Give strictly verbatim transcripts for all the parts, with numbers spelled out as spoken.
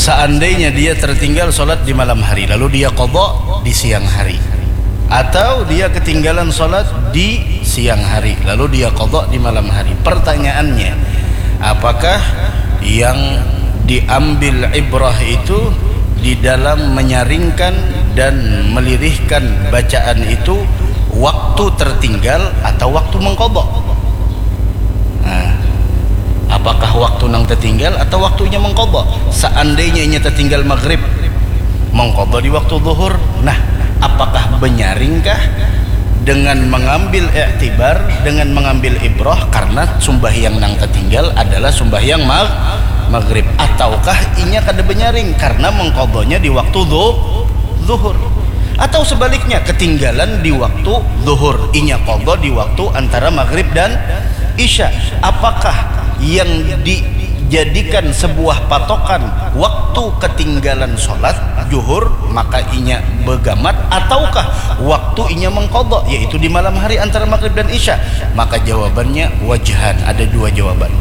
Seandainya dia tertinggal sholat di malam hari, lalu dia qadha di siang hari, atau dia ketinggalan sholat di siang hari, lalu dia qadha di malam hari. Pertanyaannya, apakah yang diambil ibrah itu di dalam menyaringkan dan melirihkan bacaan itu waktu tertinggal atau waktu mengqadha? Nah, apakah waktu nang tertinggal atau waktunya mengqadha? Seandainya inya tertinggal maghrib, mengqadha di waktu zuhur. Nah, apakah benyaringkah dengan mengambil iktibar, dengan mengambil ibrah karena sumbahyang nang tertinggal adalah sumbahyang mag maghrib, ataukah inya kada benyaring karena mengqadhanya di waktu zu zuhur? Atau sebaliknya, ketinggalan di waktu zuhur, inya qadha di waktu antara maghrib dan isya. Apakah yang dijadikan sebuah patokan waktu ketinggalan sholat zuhur, maka inya begamat, ataukah waktu inya mengqadha, yaitu di malam hari antara maghrib dan isya? Maka jawabannya wajhan, ada dua jawaban.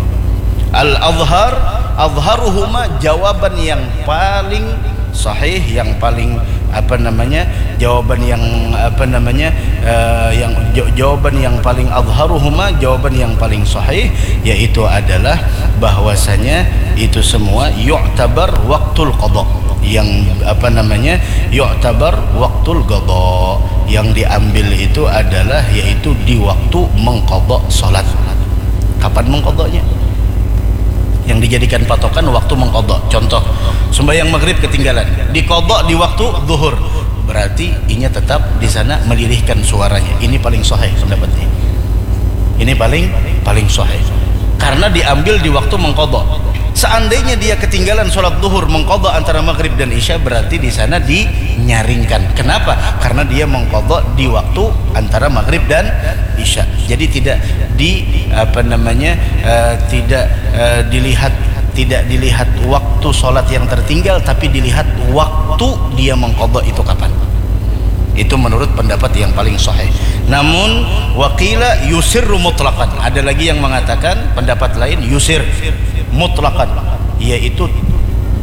Al-azhar, azharuhuma, jawaban yang paling sahih, yang paling, apa namanya, jawaban yang, apa namanya, eh, yang ja- jawaban yang paling azharuhuma, jawaban yang paling sahih, yaitu adalah bahwasanya itu semua yu'tabar waktul qadha, yang, apa namanya, yu'tabar waktul qadha, yang diambil itu adalah yaitu di waktu mengqadha salat. Kapan mengqadhanya? Yang dijadikan patokan waktu mengqadha. Contoh, sembahyang maghrib ketinggalan, diqadha di waktu zuhur. Berarti inya tetap di sana melirihkan suaranya. Ini paling sahih pendapatnya. Ini paling paling sahih. Karena diambil di waktu mengqadha. Seandainya dia ketinggalan sholat zuhur mengqadha antara maghrib dan isya, berarti di sana dinyaringkan. Kenapa? Karena dia mengqadha di waktu antara maghrib dan isya. Jadi tidak di, apa namanya, eh, tidak, eh, dilihat, tidak dilihat waktu sholat yang tertinggal, tapi dilihat waktu dia mengqadha itu kapan. Itu menurut pendapat yang paling sahih. Namun, waqila yusirru mutlaqan. Ada lagi yang mengatakan pendapat lain, yusir mutlaqan, yaitu,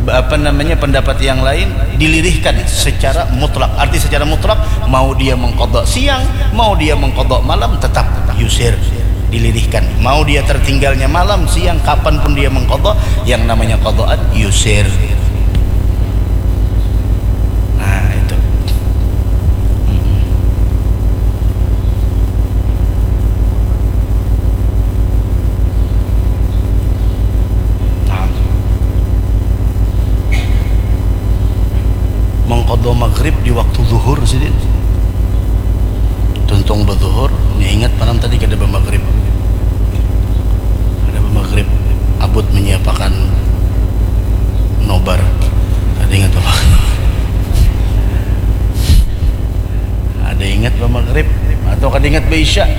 apa namanya, pendapat yang lain dilirihkan secara mutlak. Arti secara mutlak, mau dia mengqadha siang, mau dia mengqadha malam, tetap yusir, dilirihkan. Mau dia tertinggalnya malam, siang, kapan pun dia mengqadha, yang namanya qadhaan yusir. Nah, itu. Mm-mm. Nah. Mengqadha maghrib di waktu zuhur sidin. Tuntung bazuhur, nya ingat malam tadi kada bamaghrib. Kada bamaghrib, abut menyiapakan nobar. Kada ingat bamaghrib. Ada ingat bamaghrib atau kada ingat baisya?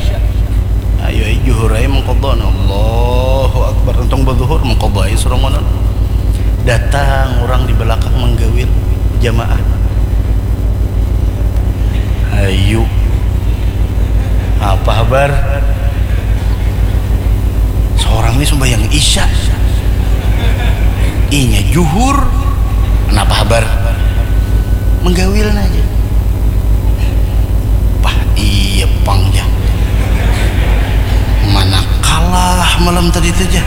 Ayo ai, juhur ai mengqadha. Allahu Akbar. Tuntung bazuhur, mengqadha ai suranganan. Datang urang di balakang manggawil jamaah. Ayu. Apa habar? Seorang ni sumbayang isya. Inya juhur. Napa habar? Manggawil nah, jar. Pah, iya pang, jar. Mana kalah malam tadi tu, jar.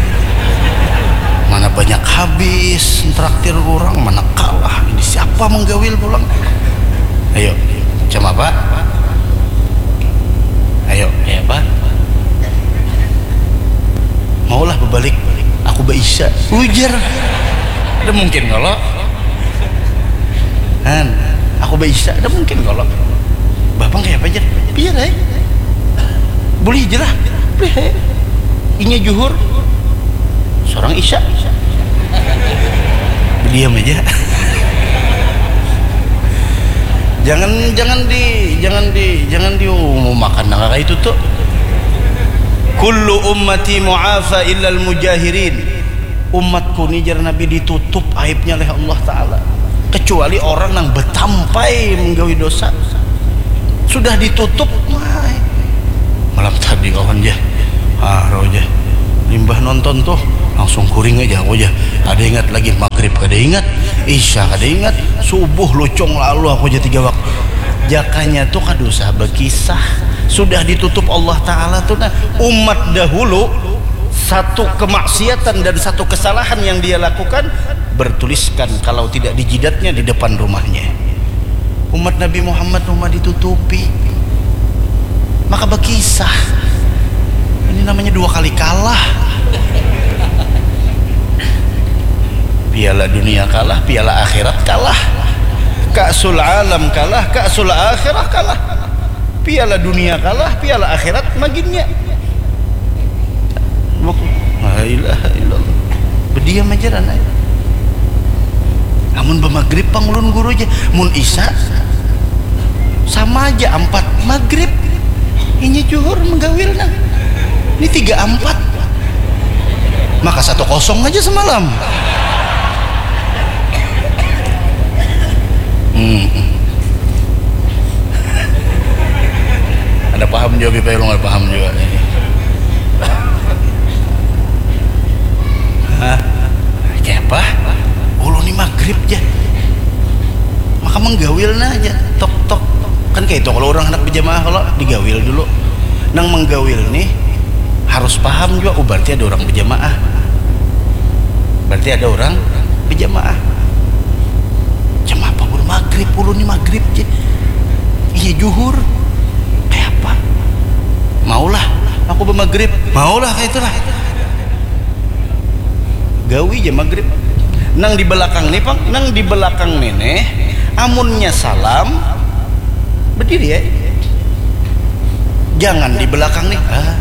Mana banyak habis traktir urang, mana kalah. Ini siapa manggawil pulang? Ayo, macam apa? Ayo. Kaya apa? Maulah babalik, aku baisya. Ujar. Kada mungkin kalo. Han, aku baisya, kada mungkin kalo. Bapang kaya apa, jar? Biar ai. Bulih ja lah. Bulih ai. Inya juhur. Sorang isya. Diam aja. Jangan, jangan di, jangan di, jangan diumumakan nang kaya itu tu. Kullu ummati mu'afa illal mujahirin. Umatku ni, jar Nabi, ditutup aibnya oleh Allah Ta'ala, kecuali orang nang batampai menggawi dosa. Sudah ditutup, wah. Malam tadi kawan, jar. Ah, rau, jar. Limbah nonton tuh, Langsung kuring aja aku aja. Ada ingat lagi maghrib, kada ingat isya, kada ingat subuh, lucung lalu aku aja tiga waktu. Jakanya tuh kada usah berkisah, sudah ditutup Allah Ta'ala tuh. Nah, umat dahulu satu kemaksiatan dan satu kesalahan yang dia lakukan bertuliskan kalau tidak di jidatnya di depan rumahnya. Umat Nabi Muhammad rumah ditutupi, maka berkisah. Ini namanya dua kali kalah. Piala dunia kalah, piala akhirat kalah. Ka'sul alam kalah, ka'sul akhirah kalah. Piala dunia kalah, piala akhirat maginnya. La ilaha illallah. Berdiam aja dan ayo. Amun bamagrib pang ulun guru aja. Mun isa sama aja ampat magrib. Ini juhur menggawil nah. Ini tiga ampat. Maka satu kosong aja semalam. Hmm. Ada paham juga kita, ulun ada paham juga. Hah? Kayak apa? Ulun ni magrib ja. Maka menggawil nah aja. Tok tok. Kan kayak itu kalau orang hendak berjamaah kalau digawil dulu. Nang menggawil nih harus paham juga, oh berarti ada orang berjamaah. Berarti ada orang berjamaah. Jam apa baru magrib? Ulun ni magrib je. Iya juhur. Kayak apa? Maulah aku bermagrib. Maulah kayak itulah. Gawi je magrib. Nang di belakang nih pang, nang di belakang nih nih, amunnya salam berdiri ya. Jangan di belakang nih. Ah,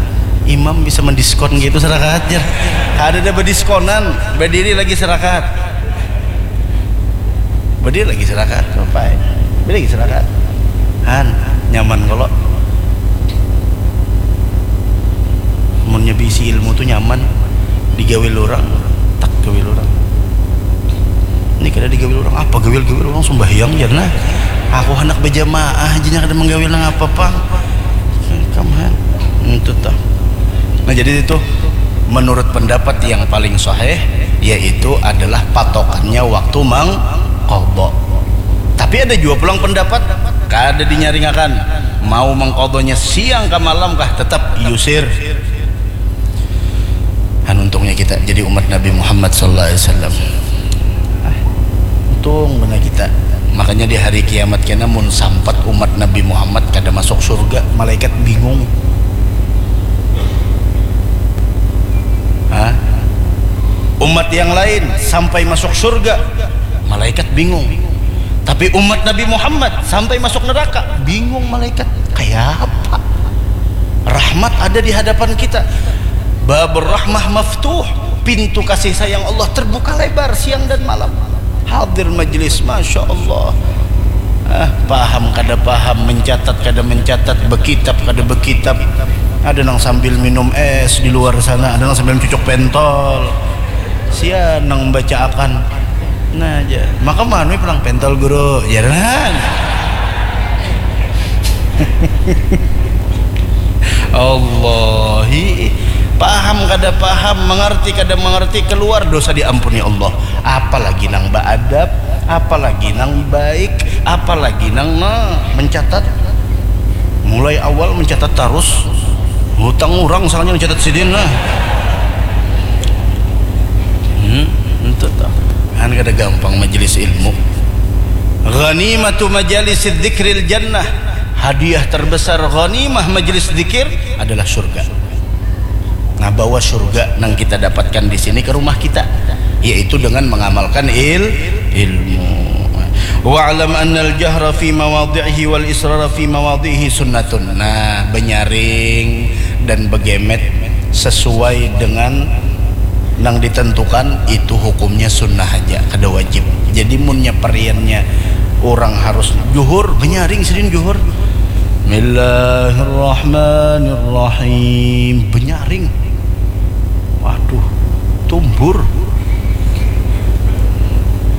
imam bisa mendiskon gitu serakaat ya. Ada ada berdiskonan, berdiri lagi serakaat. Berdiri lagi serakaat, sampai. Berdiri lagi serakaat. Han, nyaman kalau munnya bisi ilmu tuh nyaman digawil orang, tak gawil orang. Ini kada digawil orang, apa gawil-gawil orang sembahyang ya nah. Aku hendak berjamaah aja kada menggawil nang apa pang. Kamu han, itu tuh. Nah jadi itu menurut pendapat yang paling sahih yaitu adalah patokannya waktu mengkodok. Tapi ada juga pulang pendapat kada dinyaringakan, mau mengkodoknya siang ke malam kah tetap yusir. Kan untungnya kita jadi umat Nabi Muhammad sallallahu alaihi wasallam. Ah, untung benar kita. Makanya di hari kiamat kena mun sampat umat Nabi Muhammad kada masuk surga, malaikat bingung. Hah? Umat yang lain sampai masuk surga, malaikat bingung. Tapi umat Nabi Muhammad sampai masuk neraka, bingung malaikat. Kayak apa? Rahmat ada di hadapan kita. Babur rahmah maftuh, pintu kasih sayang Allah terbuka lebar siang dan malam. Hadir majelis, masya Allah. Ah, paham kada paham, mencatat kada mencatat, bekitab kada bekitab. Ada nang sambil minum es di luar sana, ada nang sambil cucuk pentol. Sia nang baca akan. Nah aja. Maka manui pulang pentol guru, ya kan? Allahi, paham kada paham, mengerti kada mengerti, keluar dosa diampuni Allah. Apalagi nang beadab, apalagi nang baik, apalagi nang nah, mencatat. Mulai awal mencatat terus. Hutang orang soalnya mencatat sidin lah. Hmm, itu tuh. Kan kada gampang majelis ilmu. Ghanimatu majalis dzikril jannah. Hadiah terbesar ghanimah majelis zikir adalah surga. Nah, bawa surga nang kita dapatkan di sini ke rumah kita, yaitu dengan mengamalkan il ilmu. Wa'lam annal jahra fi mawadhi'ihi wal israra fi mawadhi'ihi sunnatun. Nah, benyaring dan begemet sesuai dengan nang ditentukan itu hukumnya sunnah aja, kada wajib. Jadi munnya pariannya orang harus juhur, benyaring sidin juhur. Bismillahirrahmanirrahim. Benyaring. Waduh, tumbur.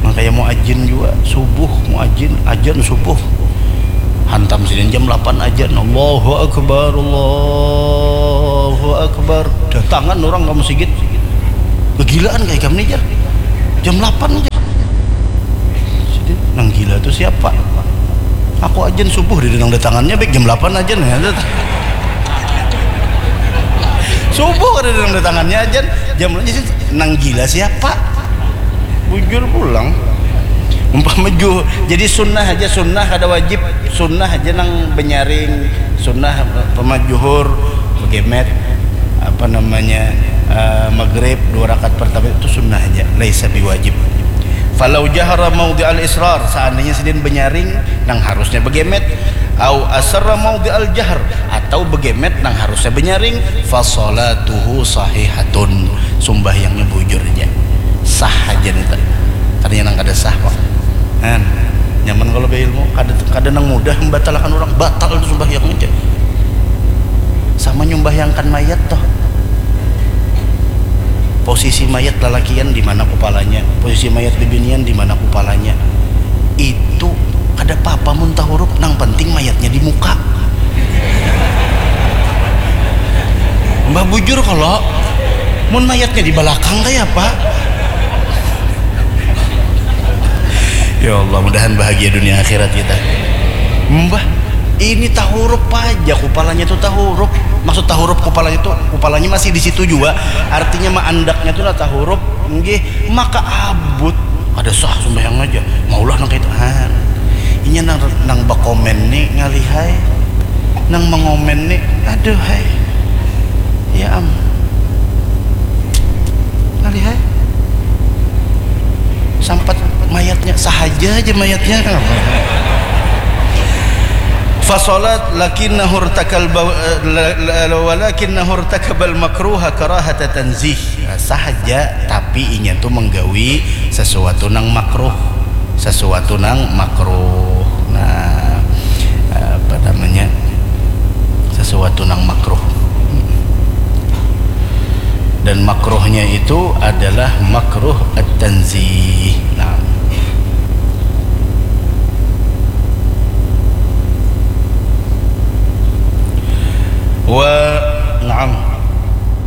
Nah, kayak mau ajin juga, subuh, mau ajin, ajan subuh. Hantam sidin jam delapan ajan. Allahu Akbar, Allahu Akbar. Datangan orang kamu sigit. Begilaan kayak kamu nih, jar. Jam delapan, jar. Jadi, nang gila tuh siapa? Aku ajan subuh di nang datangannya, baik jam delapan ajan ya. Subuh ada nang datangannya ajan, jam nang gila siapa? Bujur pulang. Umpama juhur, jadi sunnah aja, sunnah kada wajib, sunnah aja nang benyaring, sunnah pama juhur, begemet, apa namanya, uh, maghrib dua rakaat pertama itu sunnah aja, laisa biwajib. Falau jahara maudhi'al israr, seandainya sidin benyaring nang harusnya begemet, au asarra maudhi'al jahr, atau begemet nang harusnya benyaring, fasalatuhu sahihatun, sumbahyangnya bujur aja, sah aja nih tadi. Tadinya nang kada sah kok. Kan nyaman kalau beilmu, kada kada nang mudah membatalakan orang, batal itu sumbahyang aja. Sama nyumbahyangkan mayat toh. Posisi mayat lalakian di mana kupalanya, posisi mayat bibinian di mana kupalanya. Itu kada apa-apa mun tahurup, nang penting mayatnya di muka. Mbah bujur kalau mun mayatnya di belakang kayak apa? Ya Allah, mudahan bahagia dunia akhirat kita. Mbah, ini tahurup aja kupalanya tuh tahurup. Maksud tahurup kupalanya tuh, kupalanya masih di situ juga. Artinya mah andaknya tuh lah tahurup. Nggih, maka abut. Ada sah sembahyang aja. Maulah nang kayak itu. Ah. Inya nang nang bakomen nih ngalihai. Nang mengomen nih, aduh hai. Ya am. Ngalihai. Sampat mayatnya, sahaja aja mayatnya. Fasolat lakinnahu irtakal ba- eh, la- la- walakinnahu irtakabal makruha karahata tanzih. Nah, sahaja, tapi inya tuh menggawi sesuatu nang makruh, sesuatu nang makruh. Nah, apa namanya, sesuatu nang makruh. Dan makruhnya itu adalah makruh at-tanzih. Nah,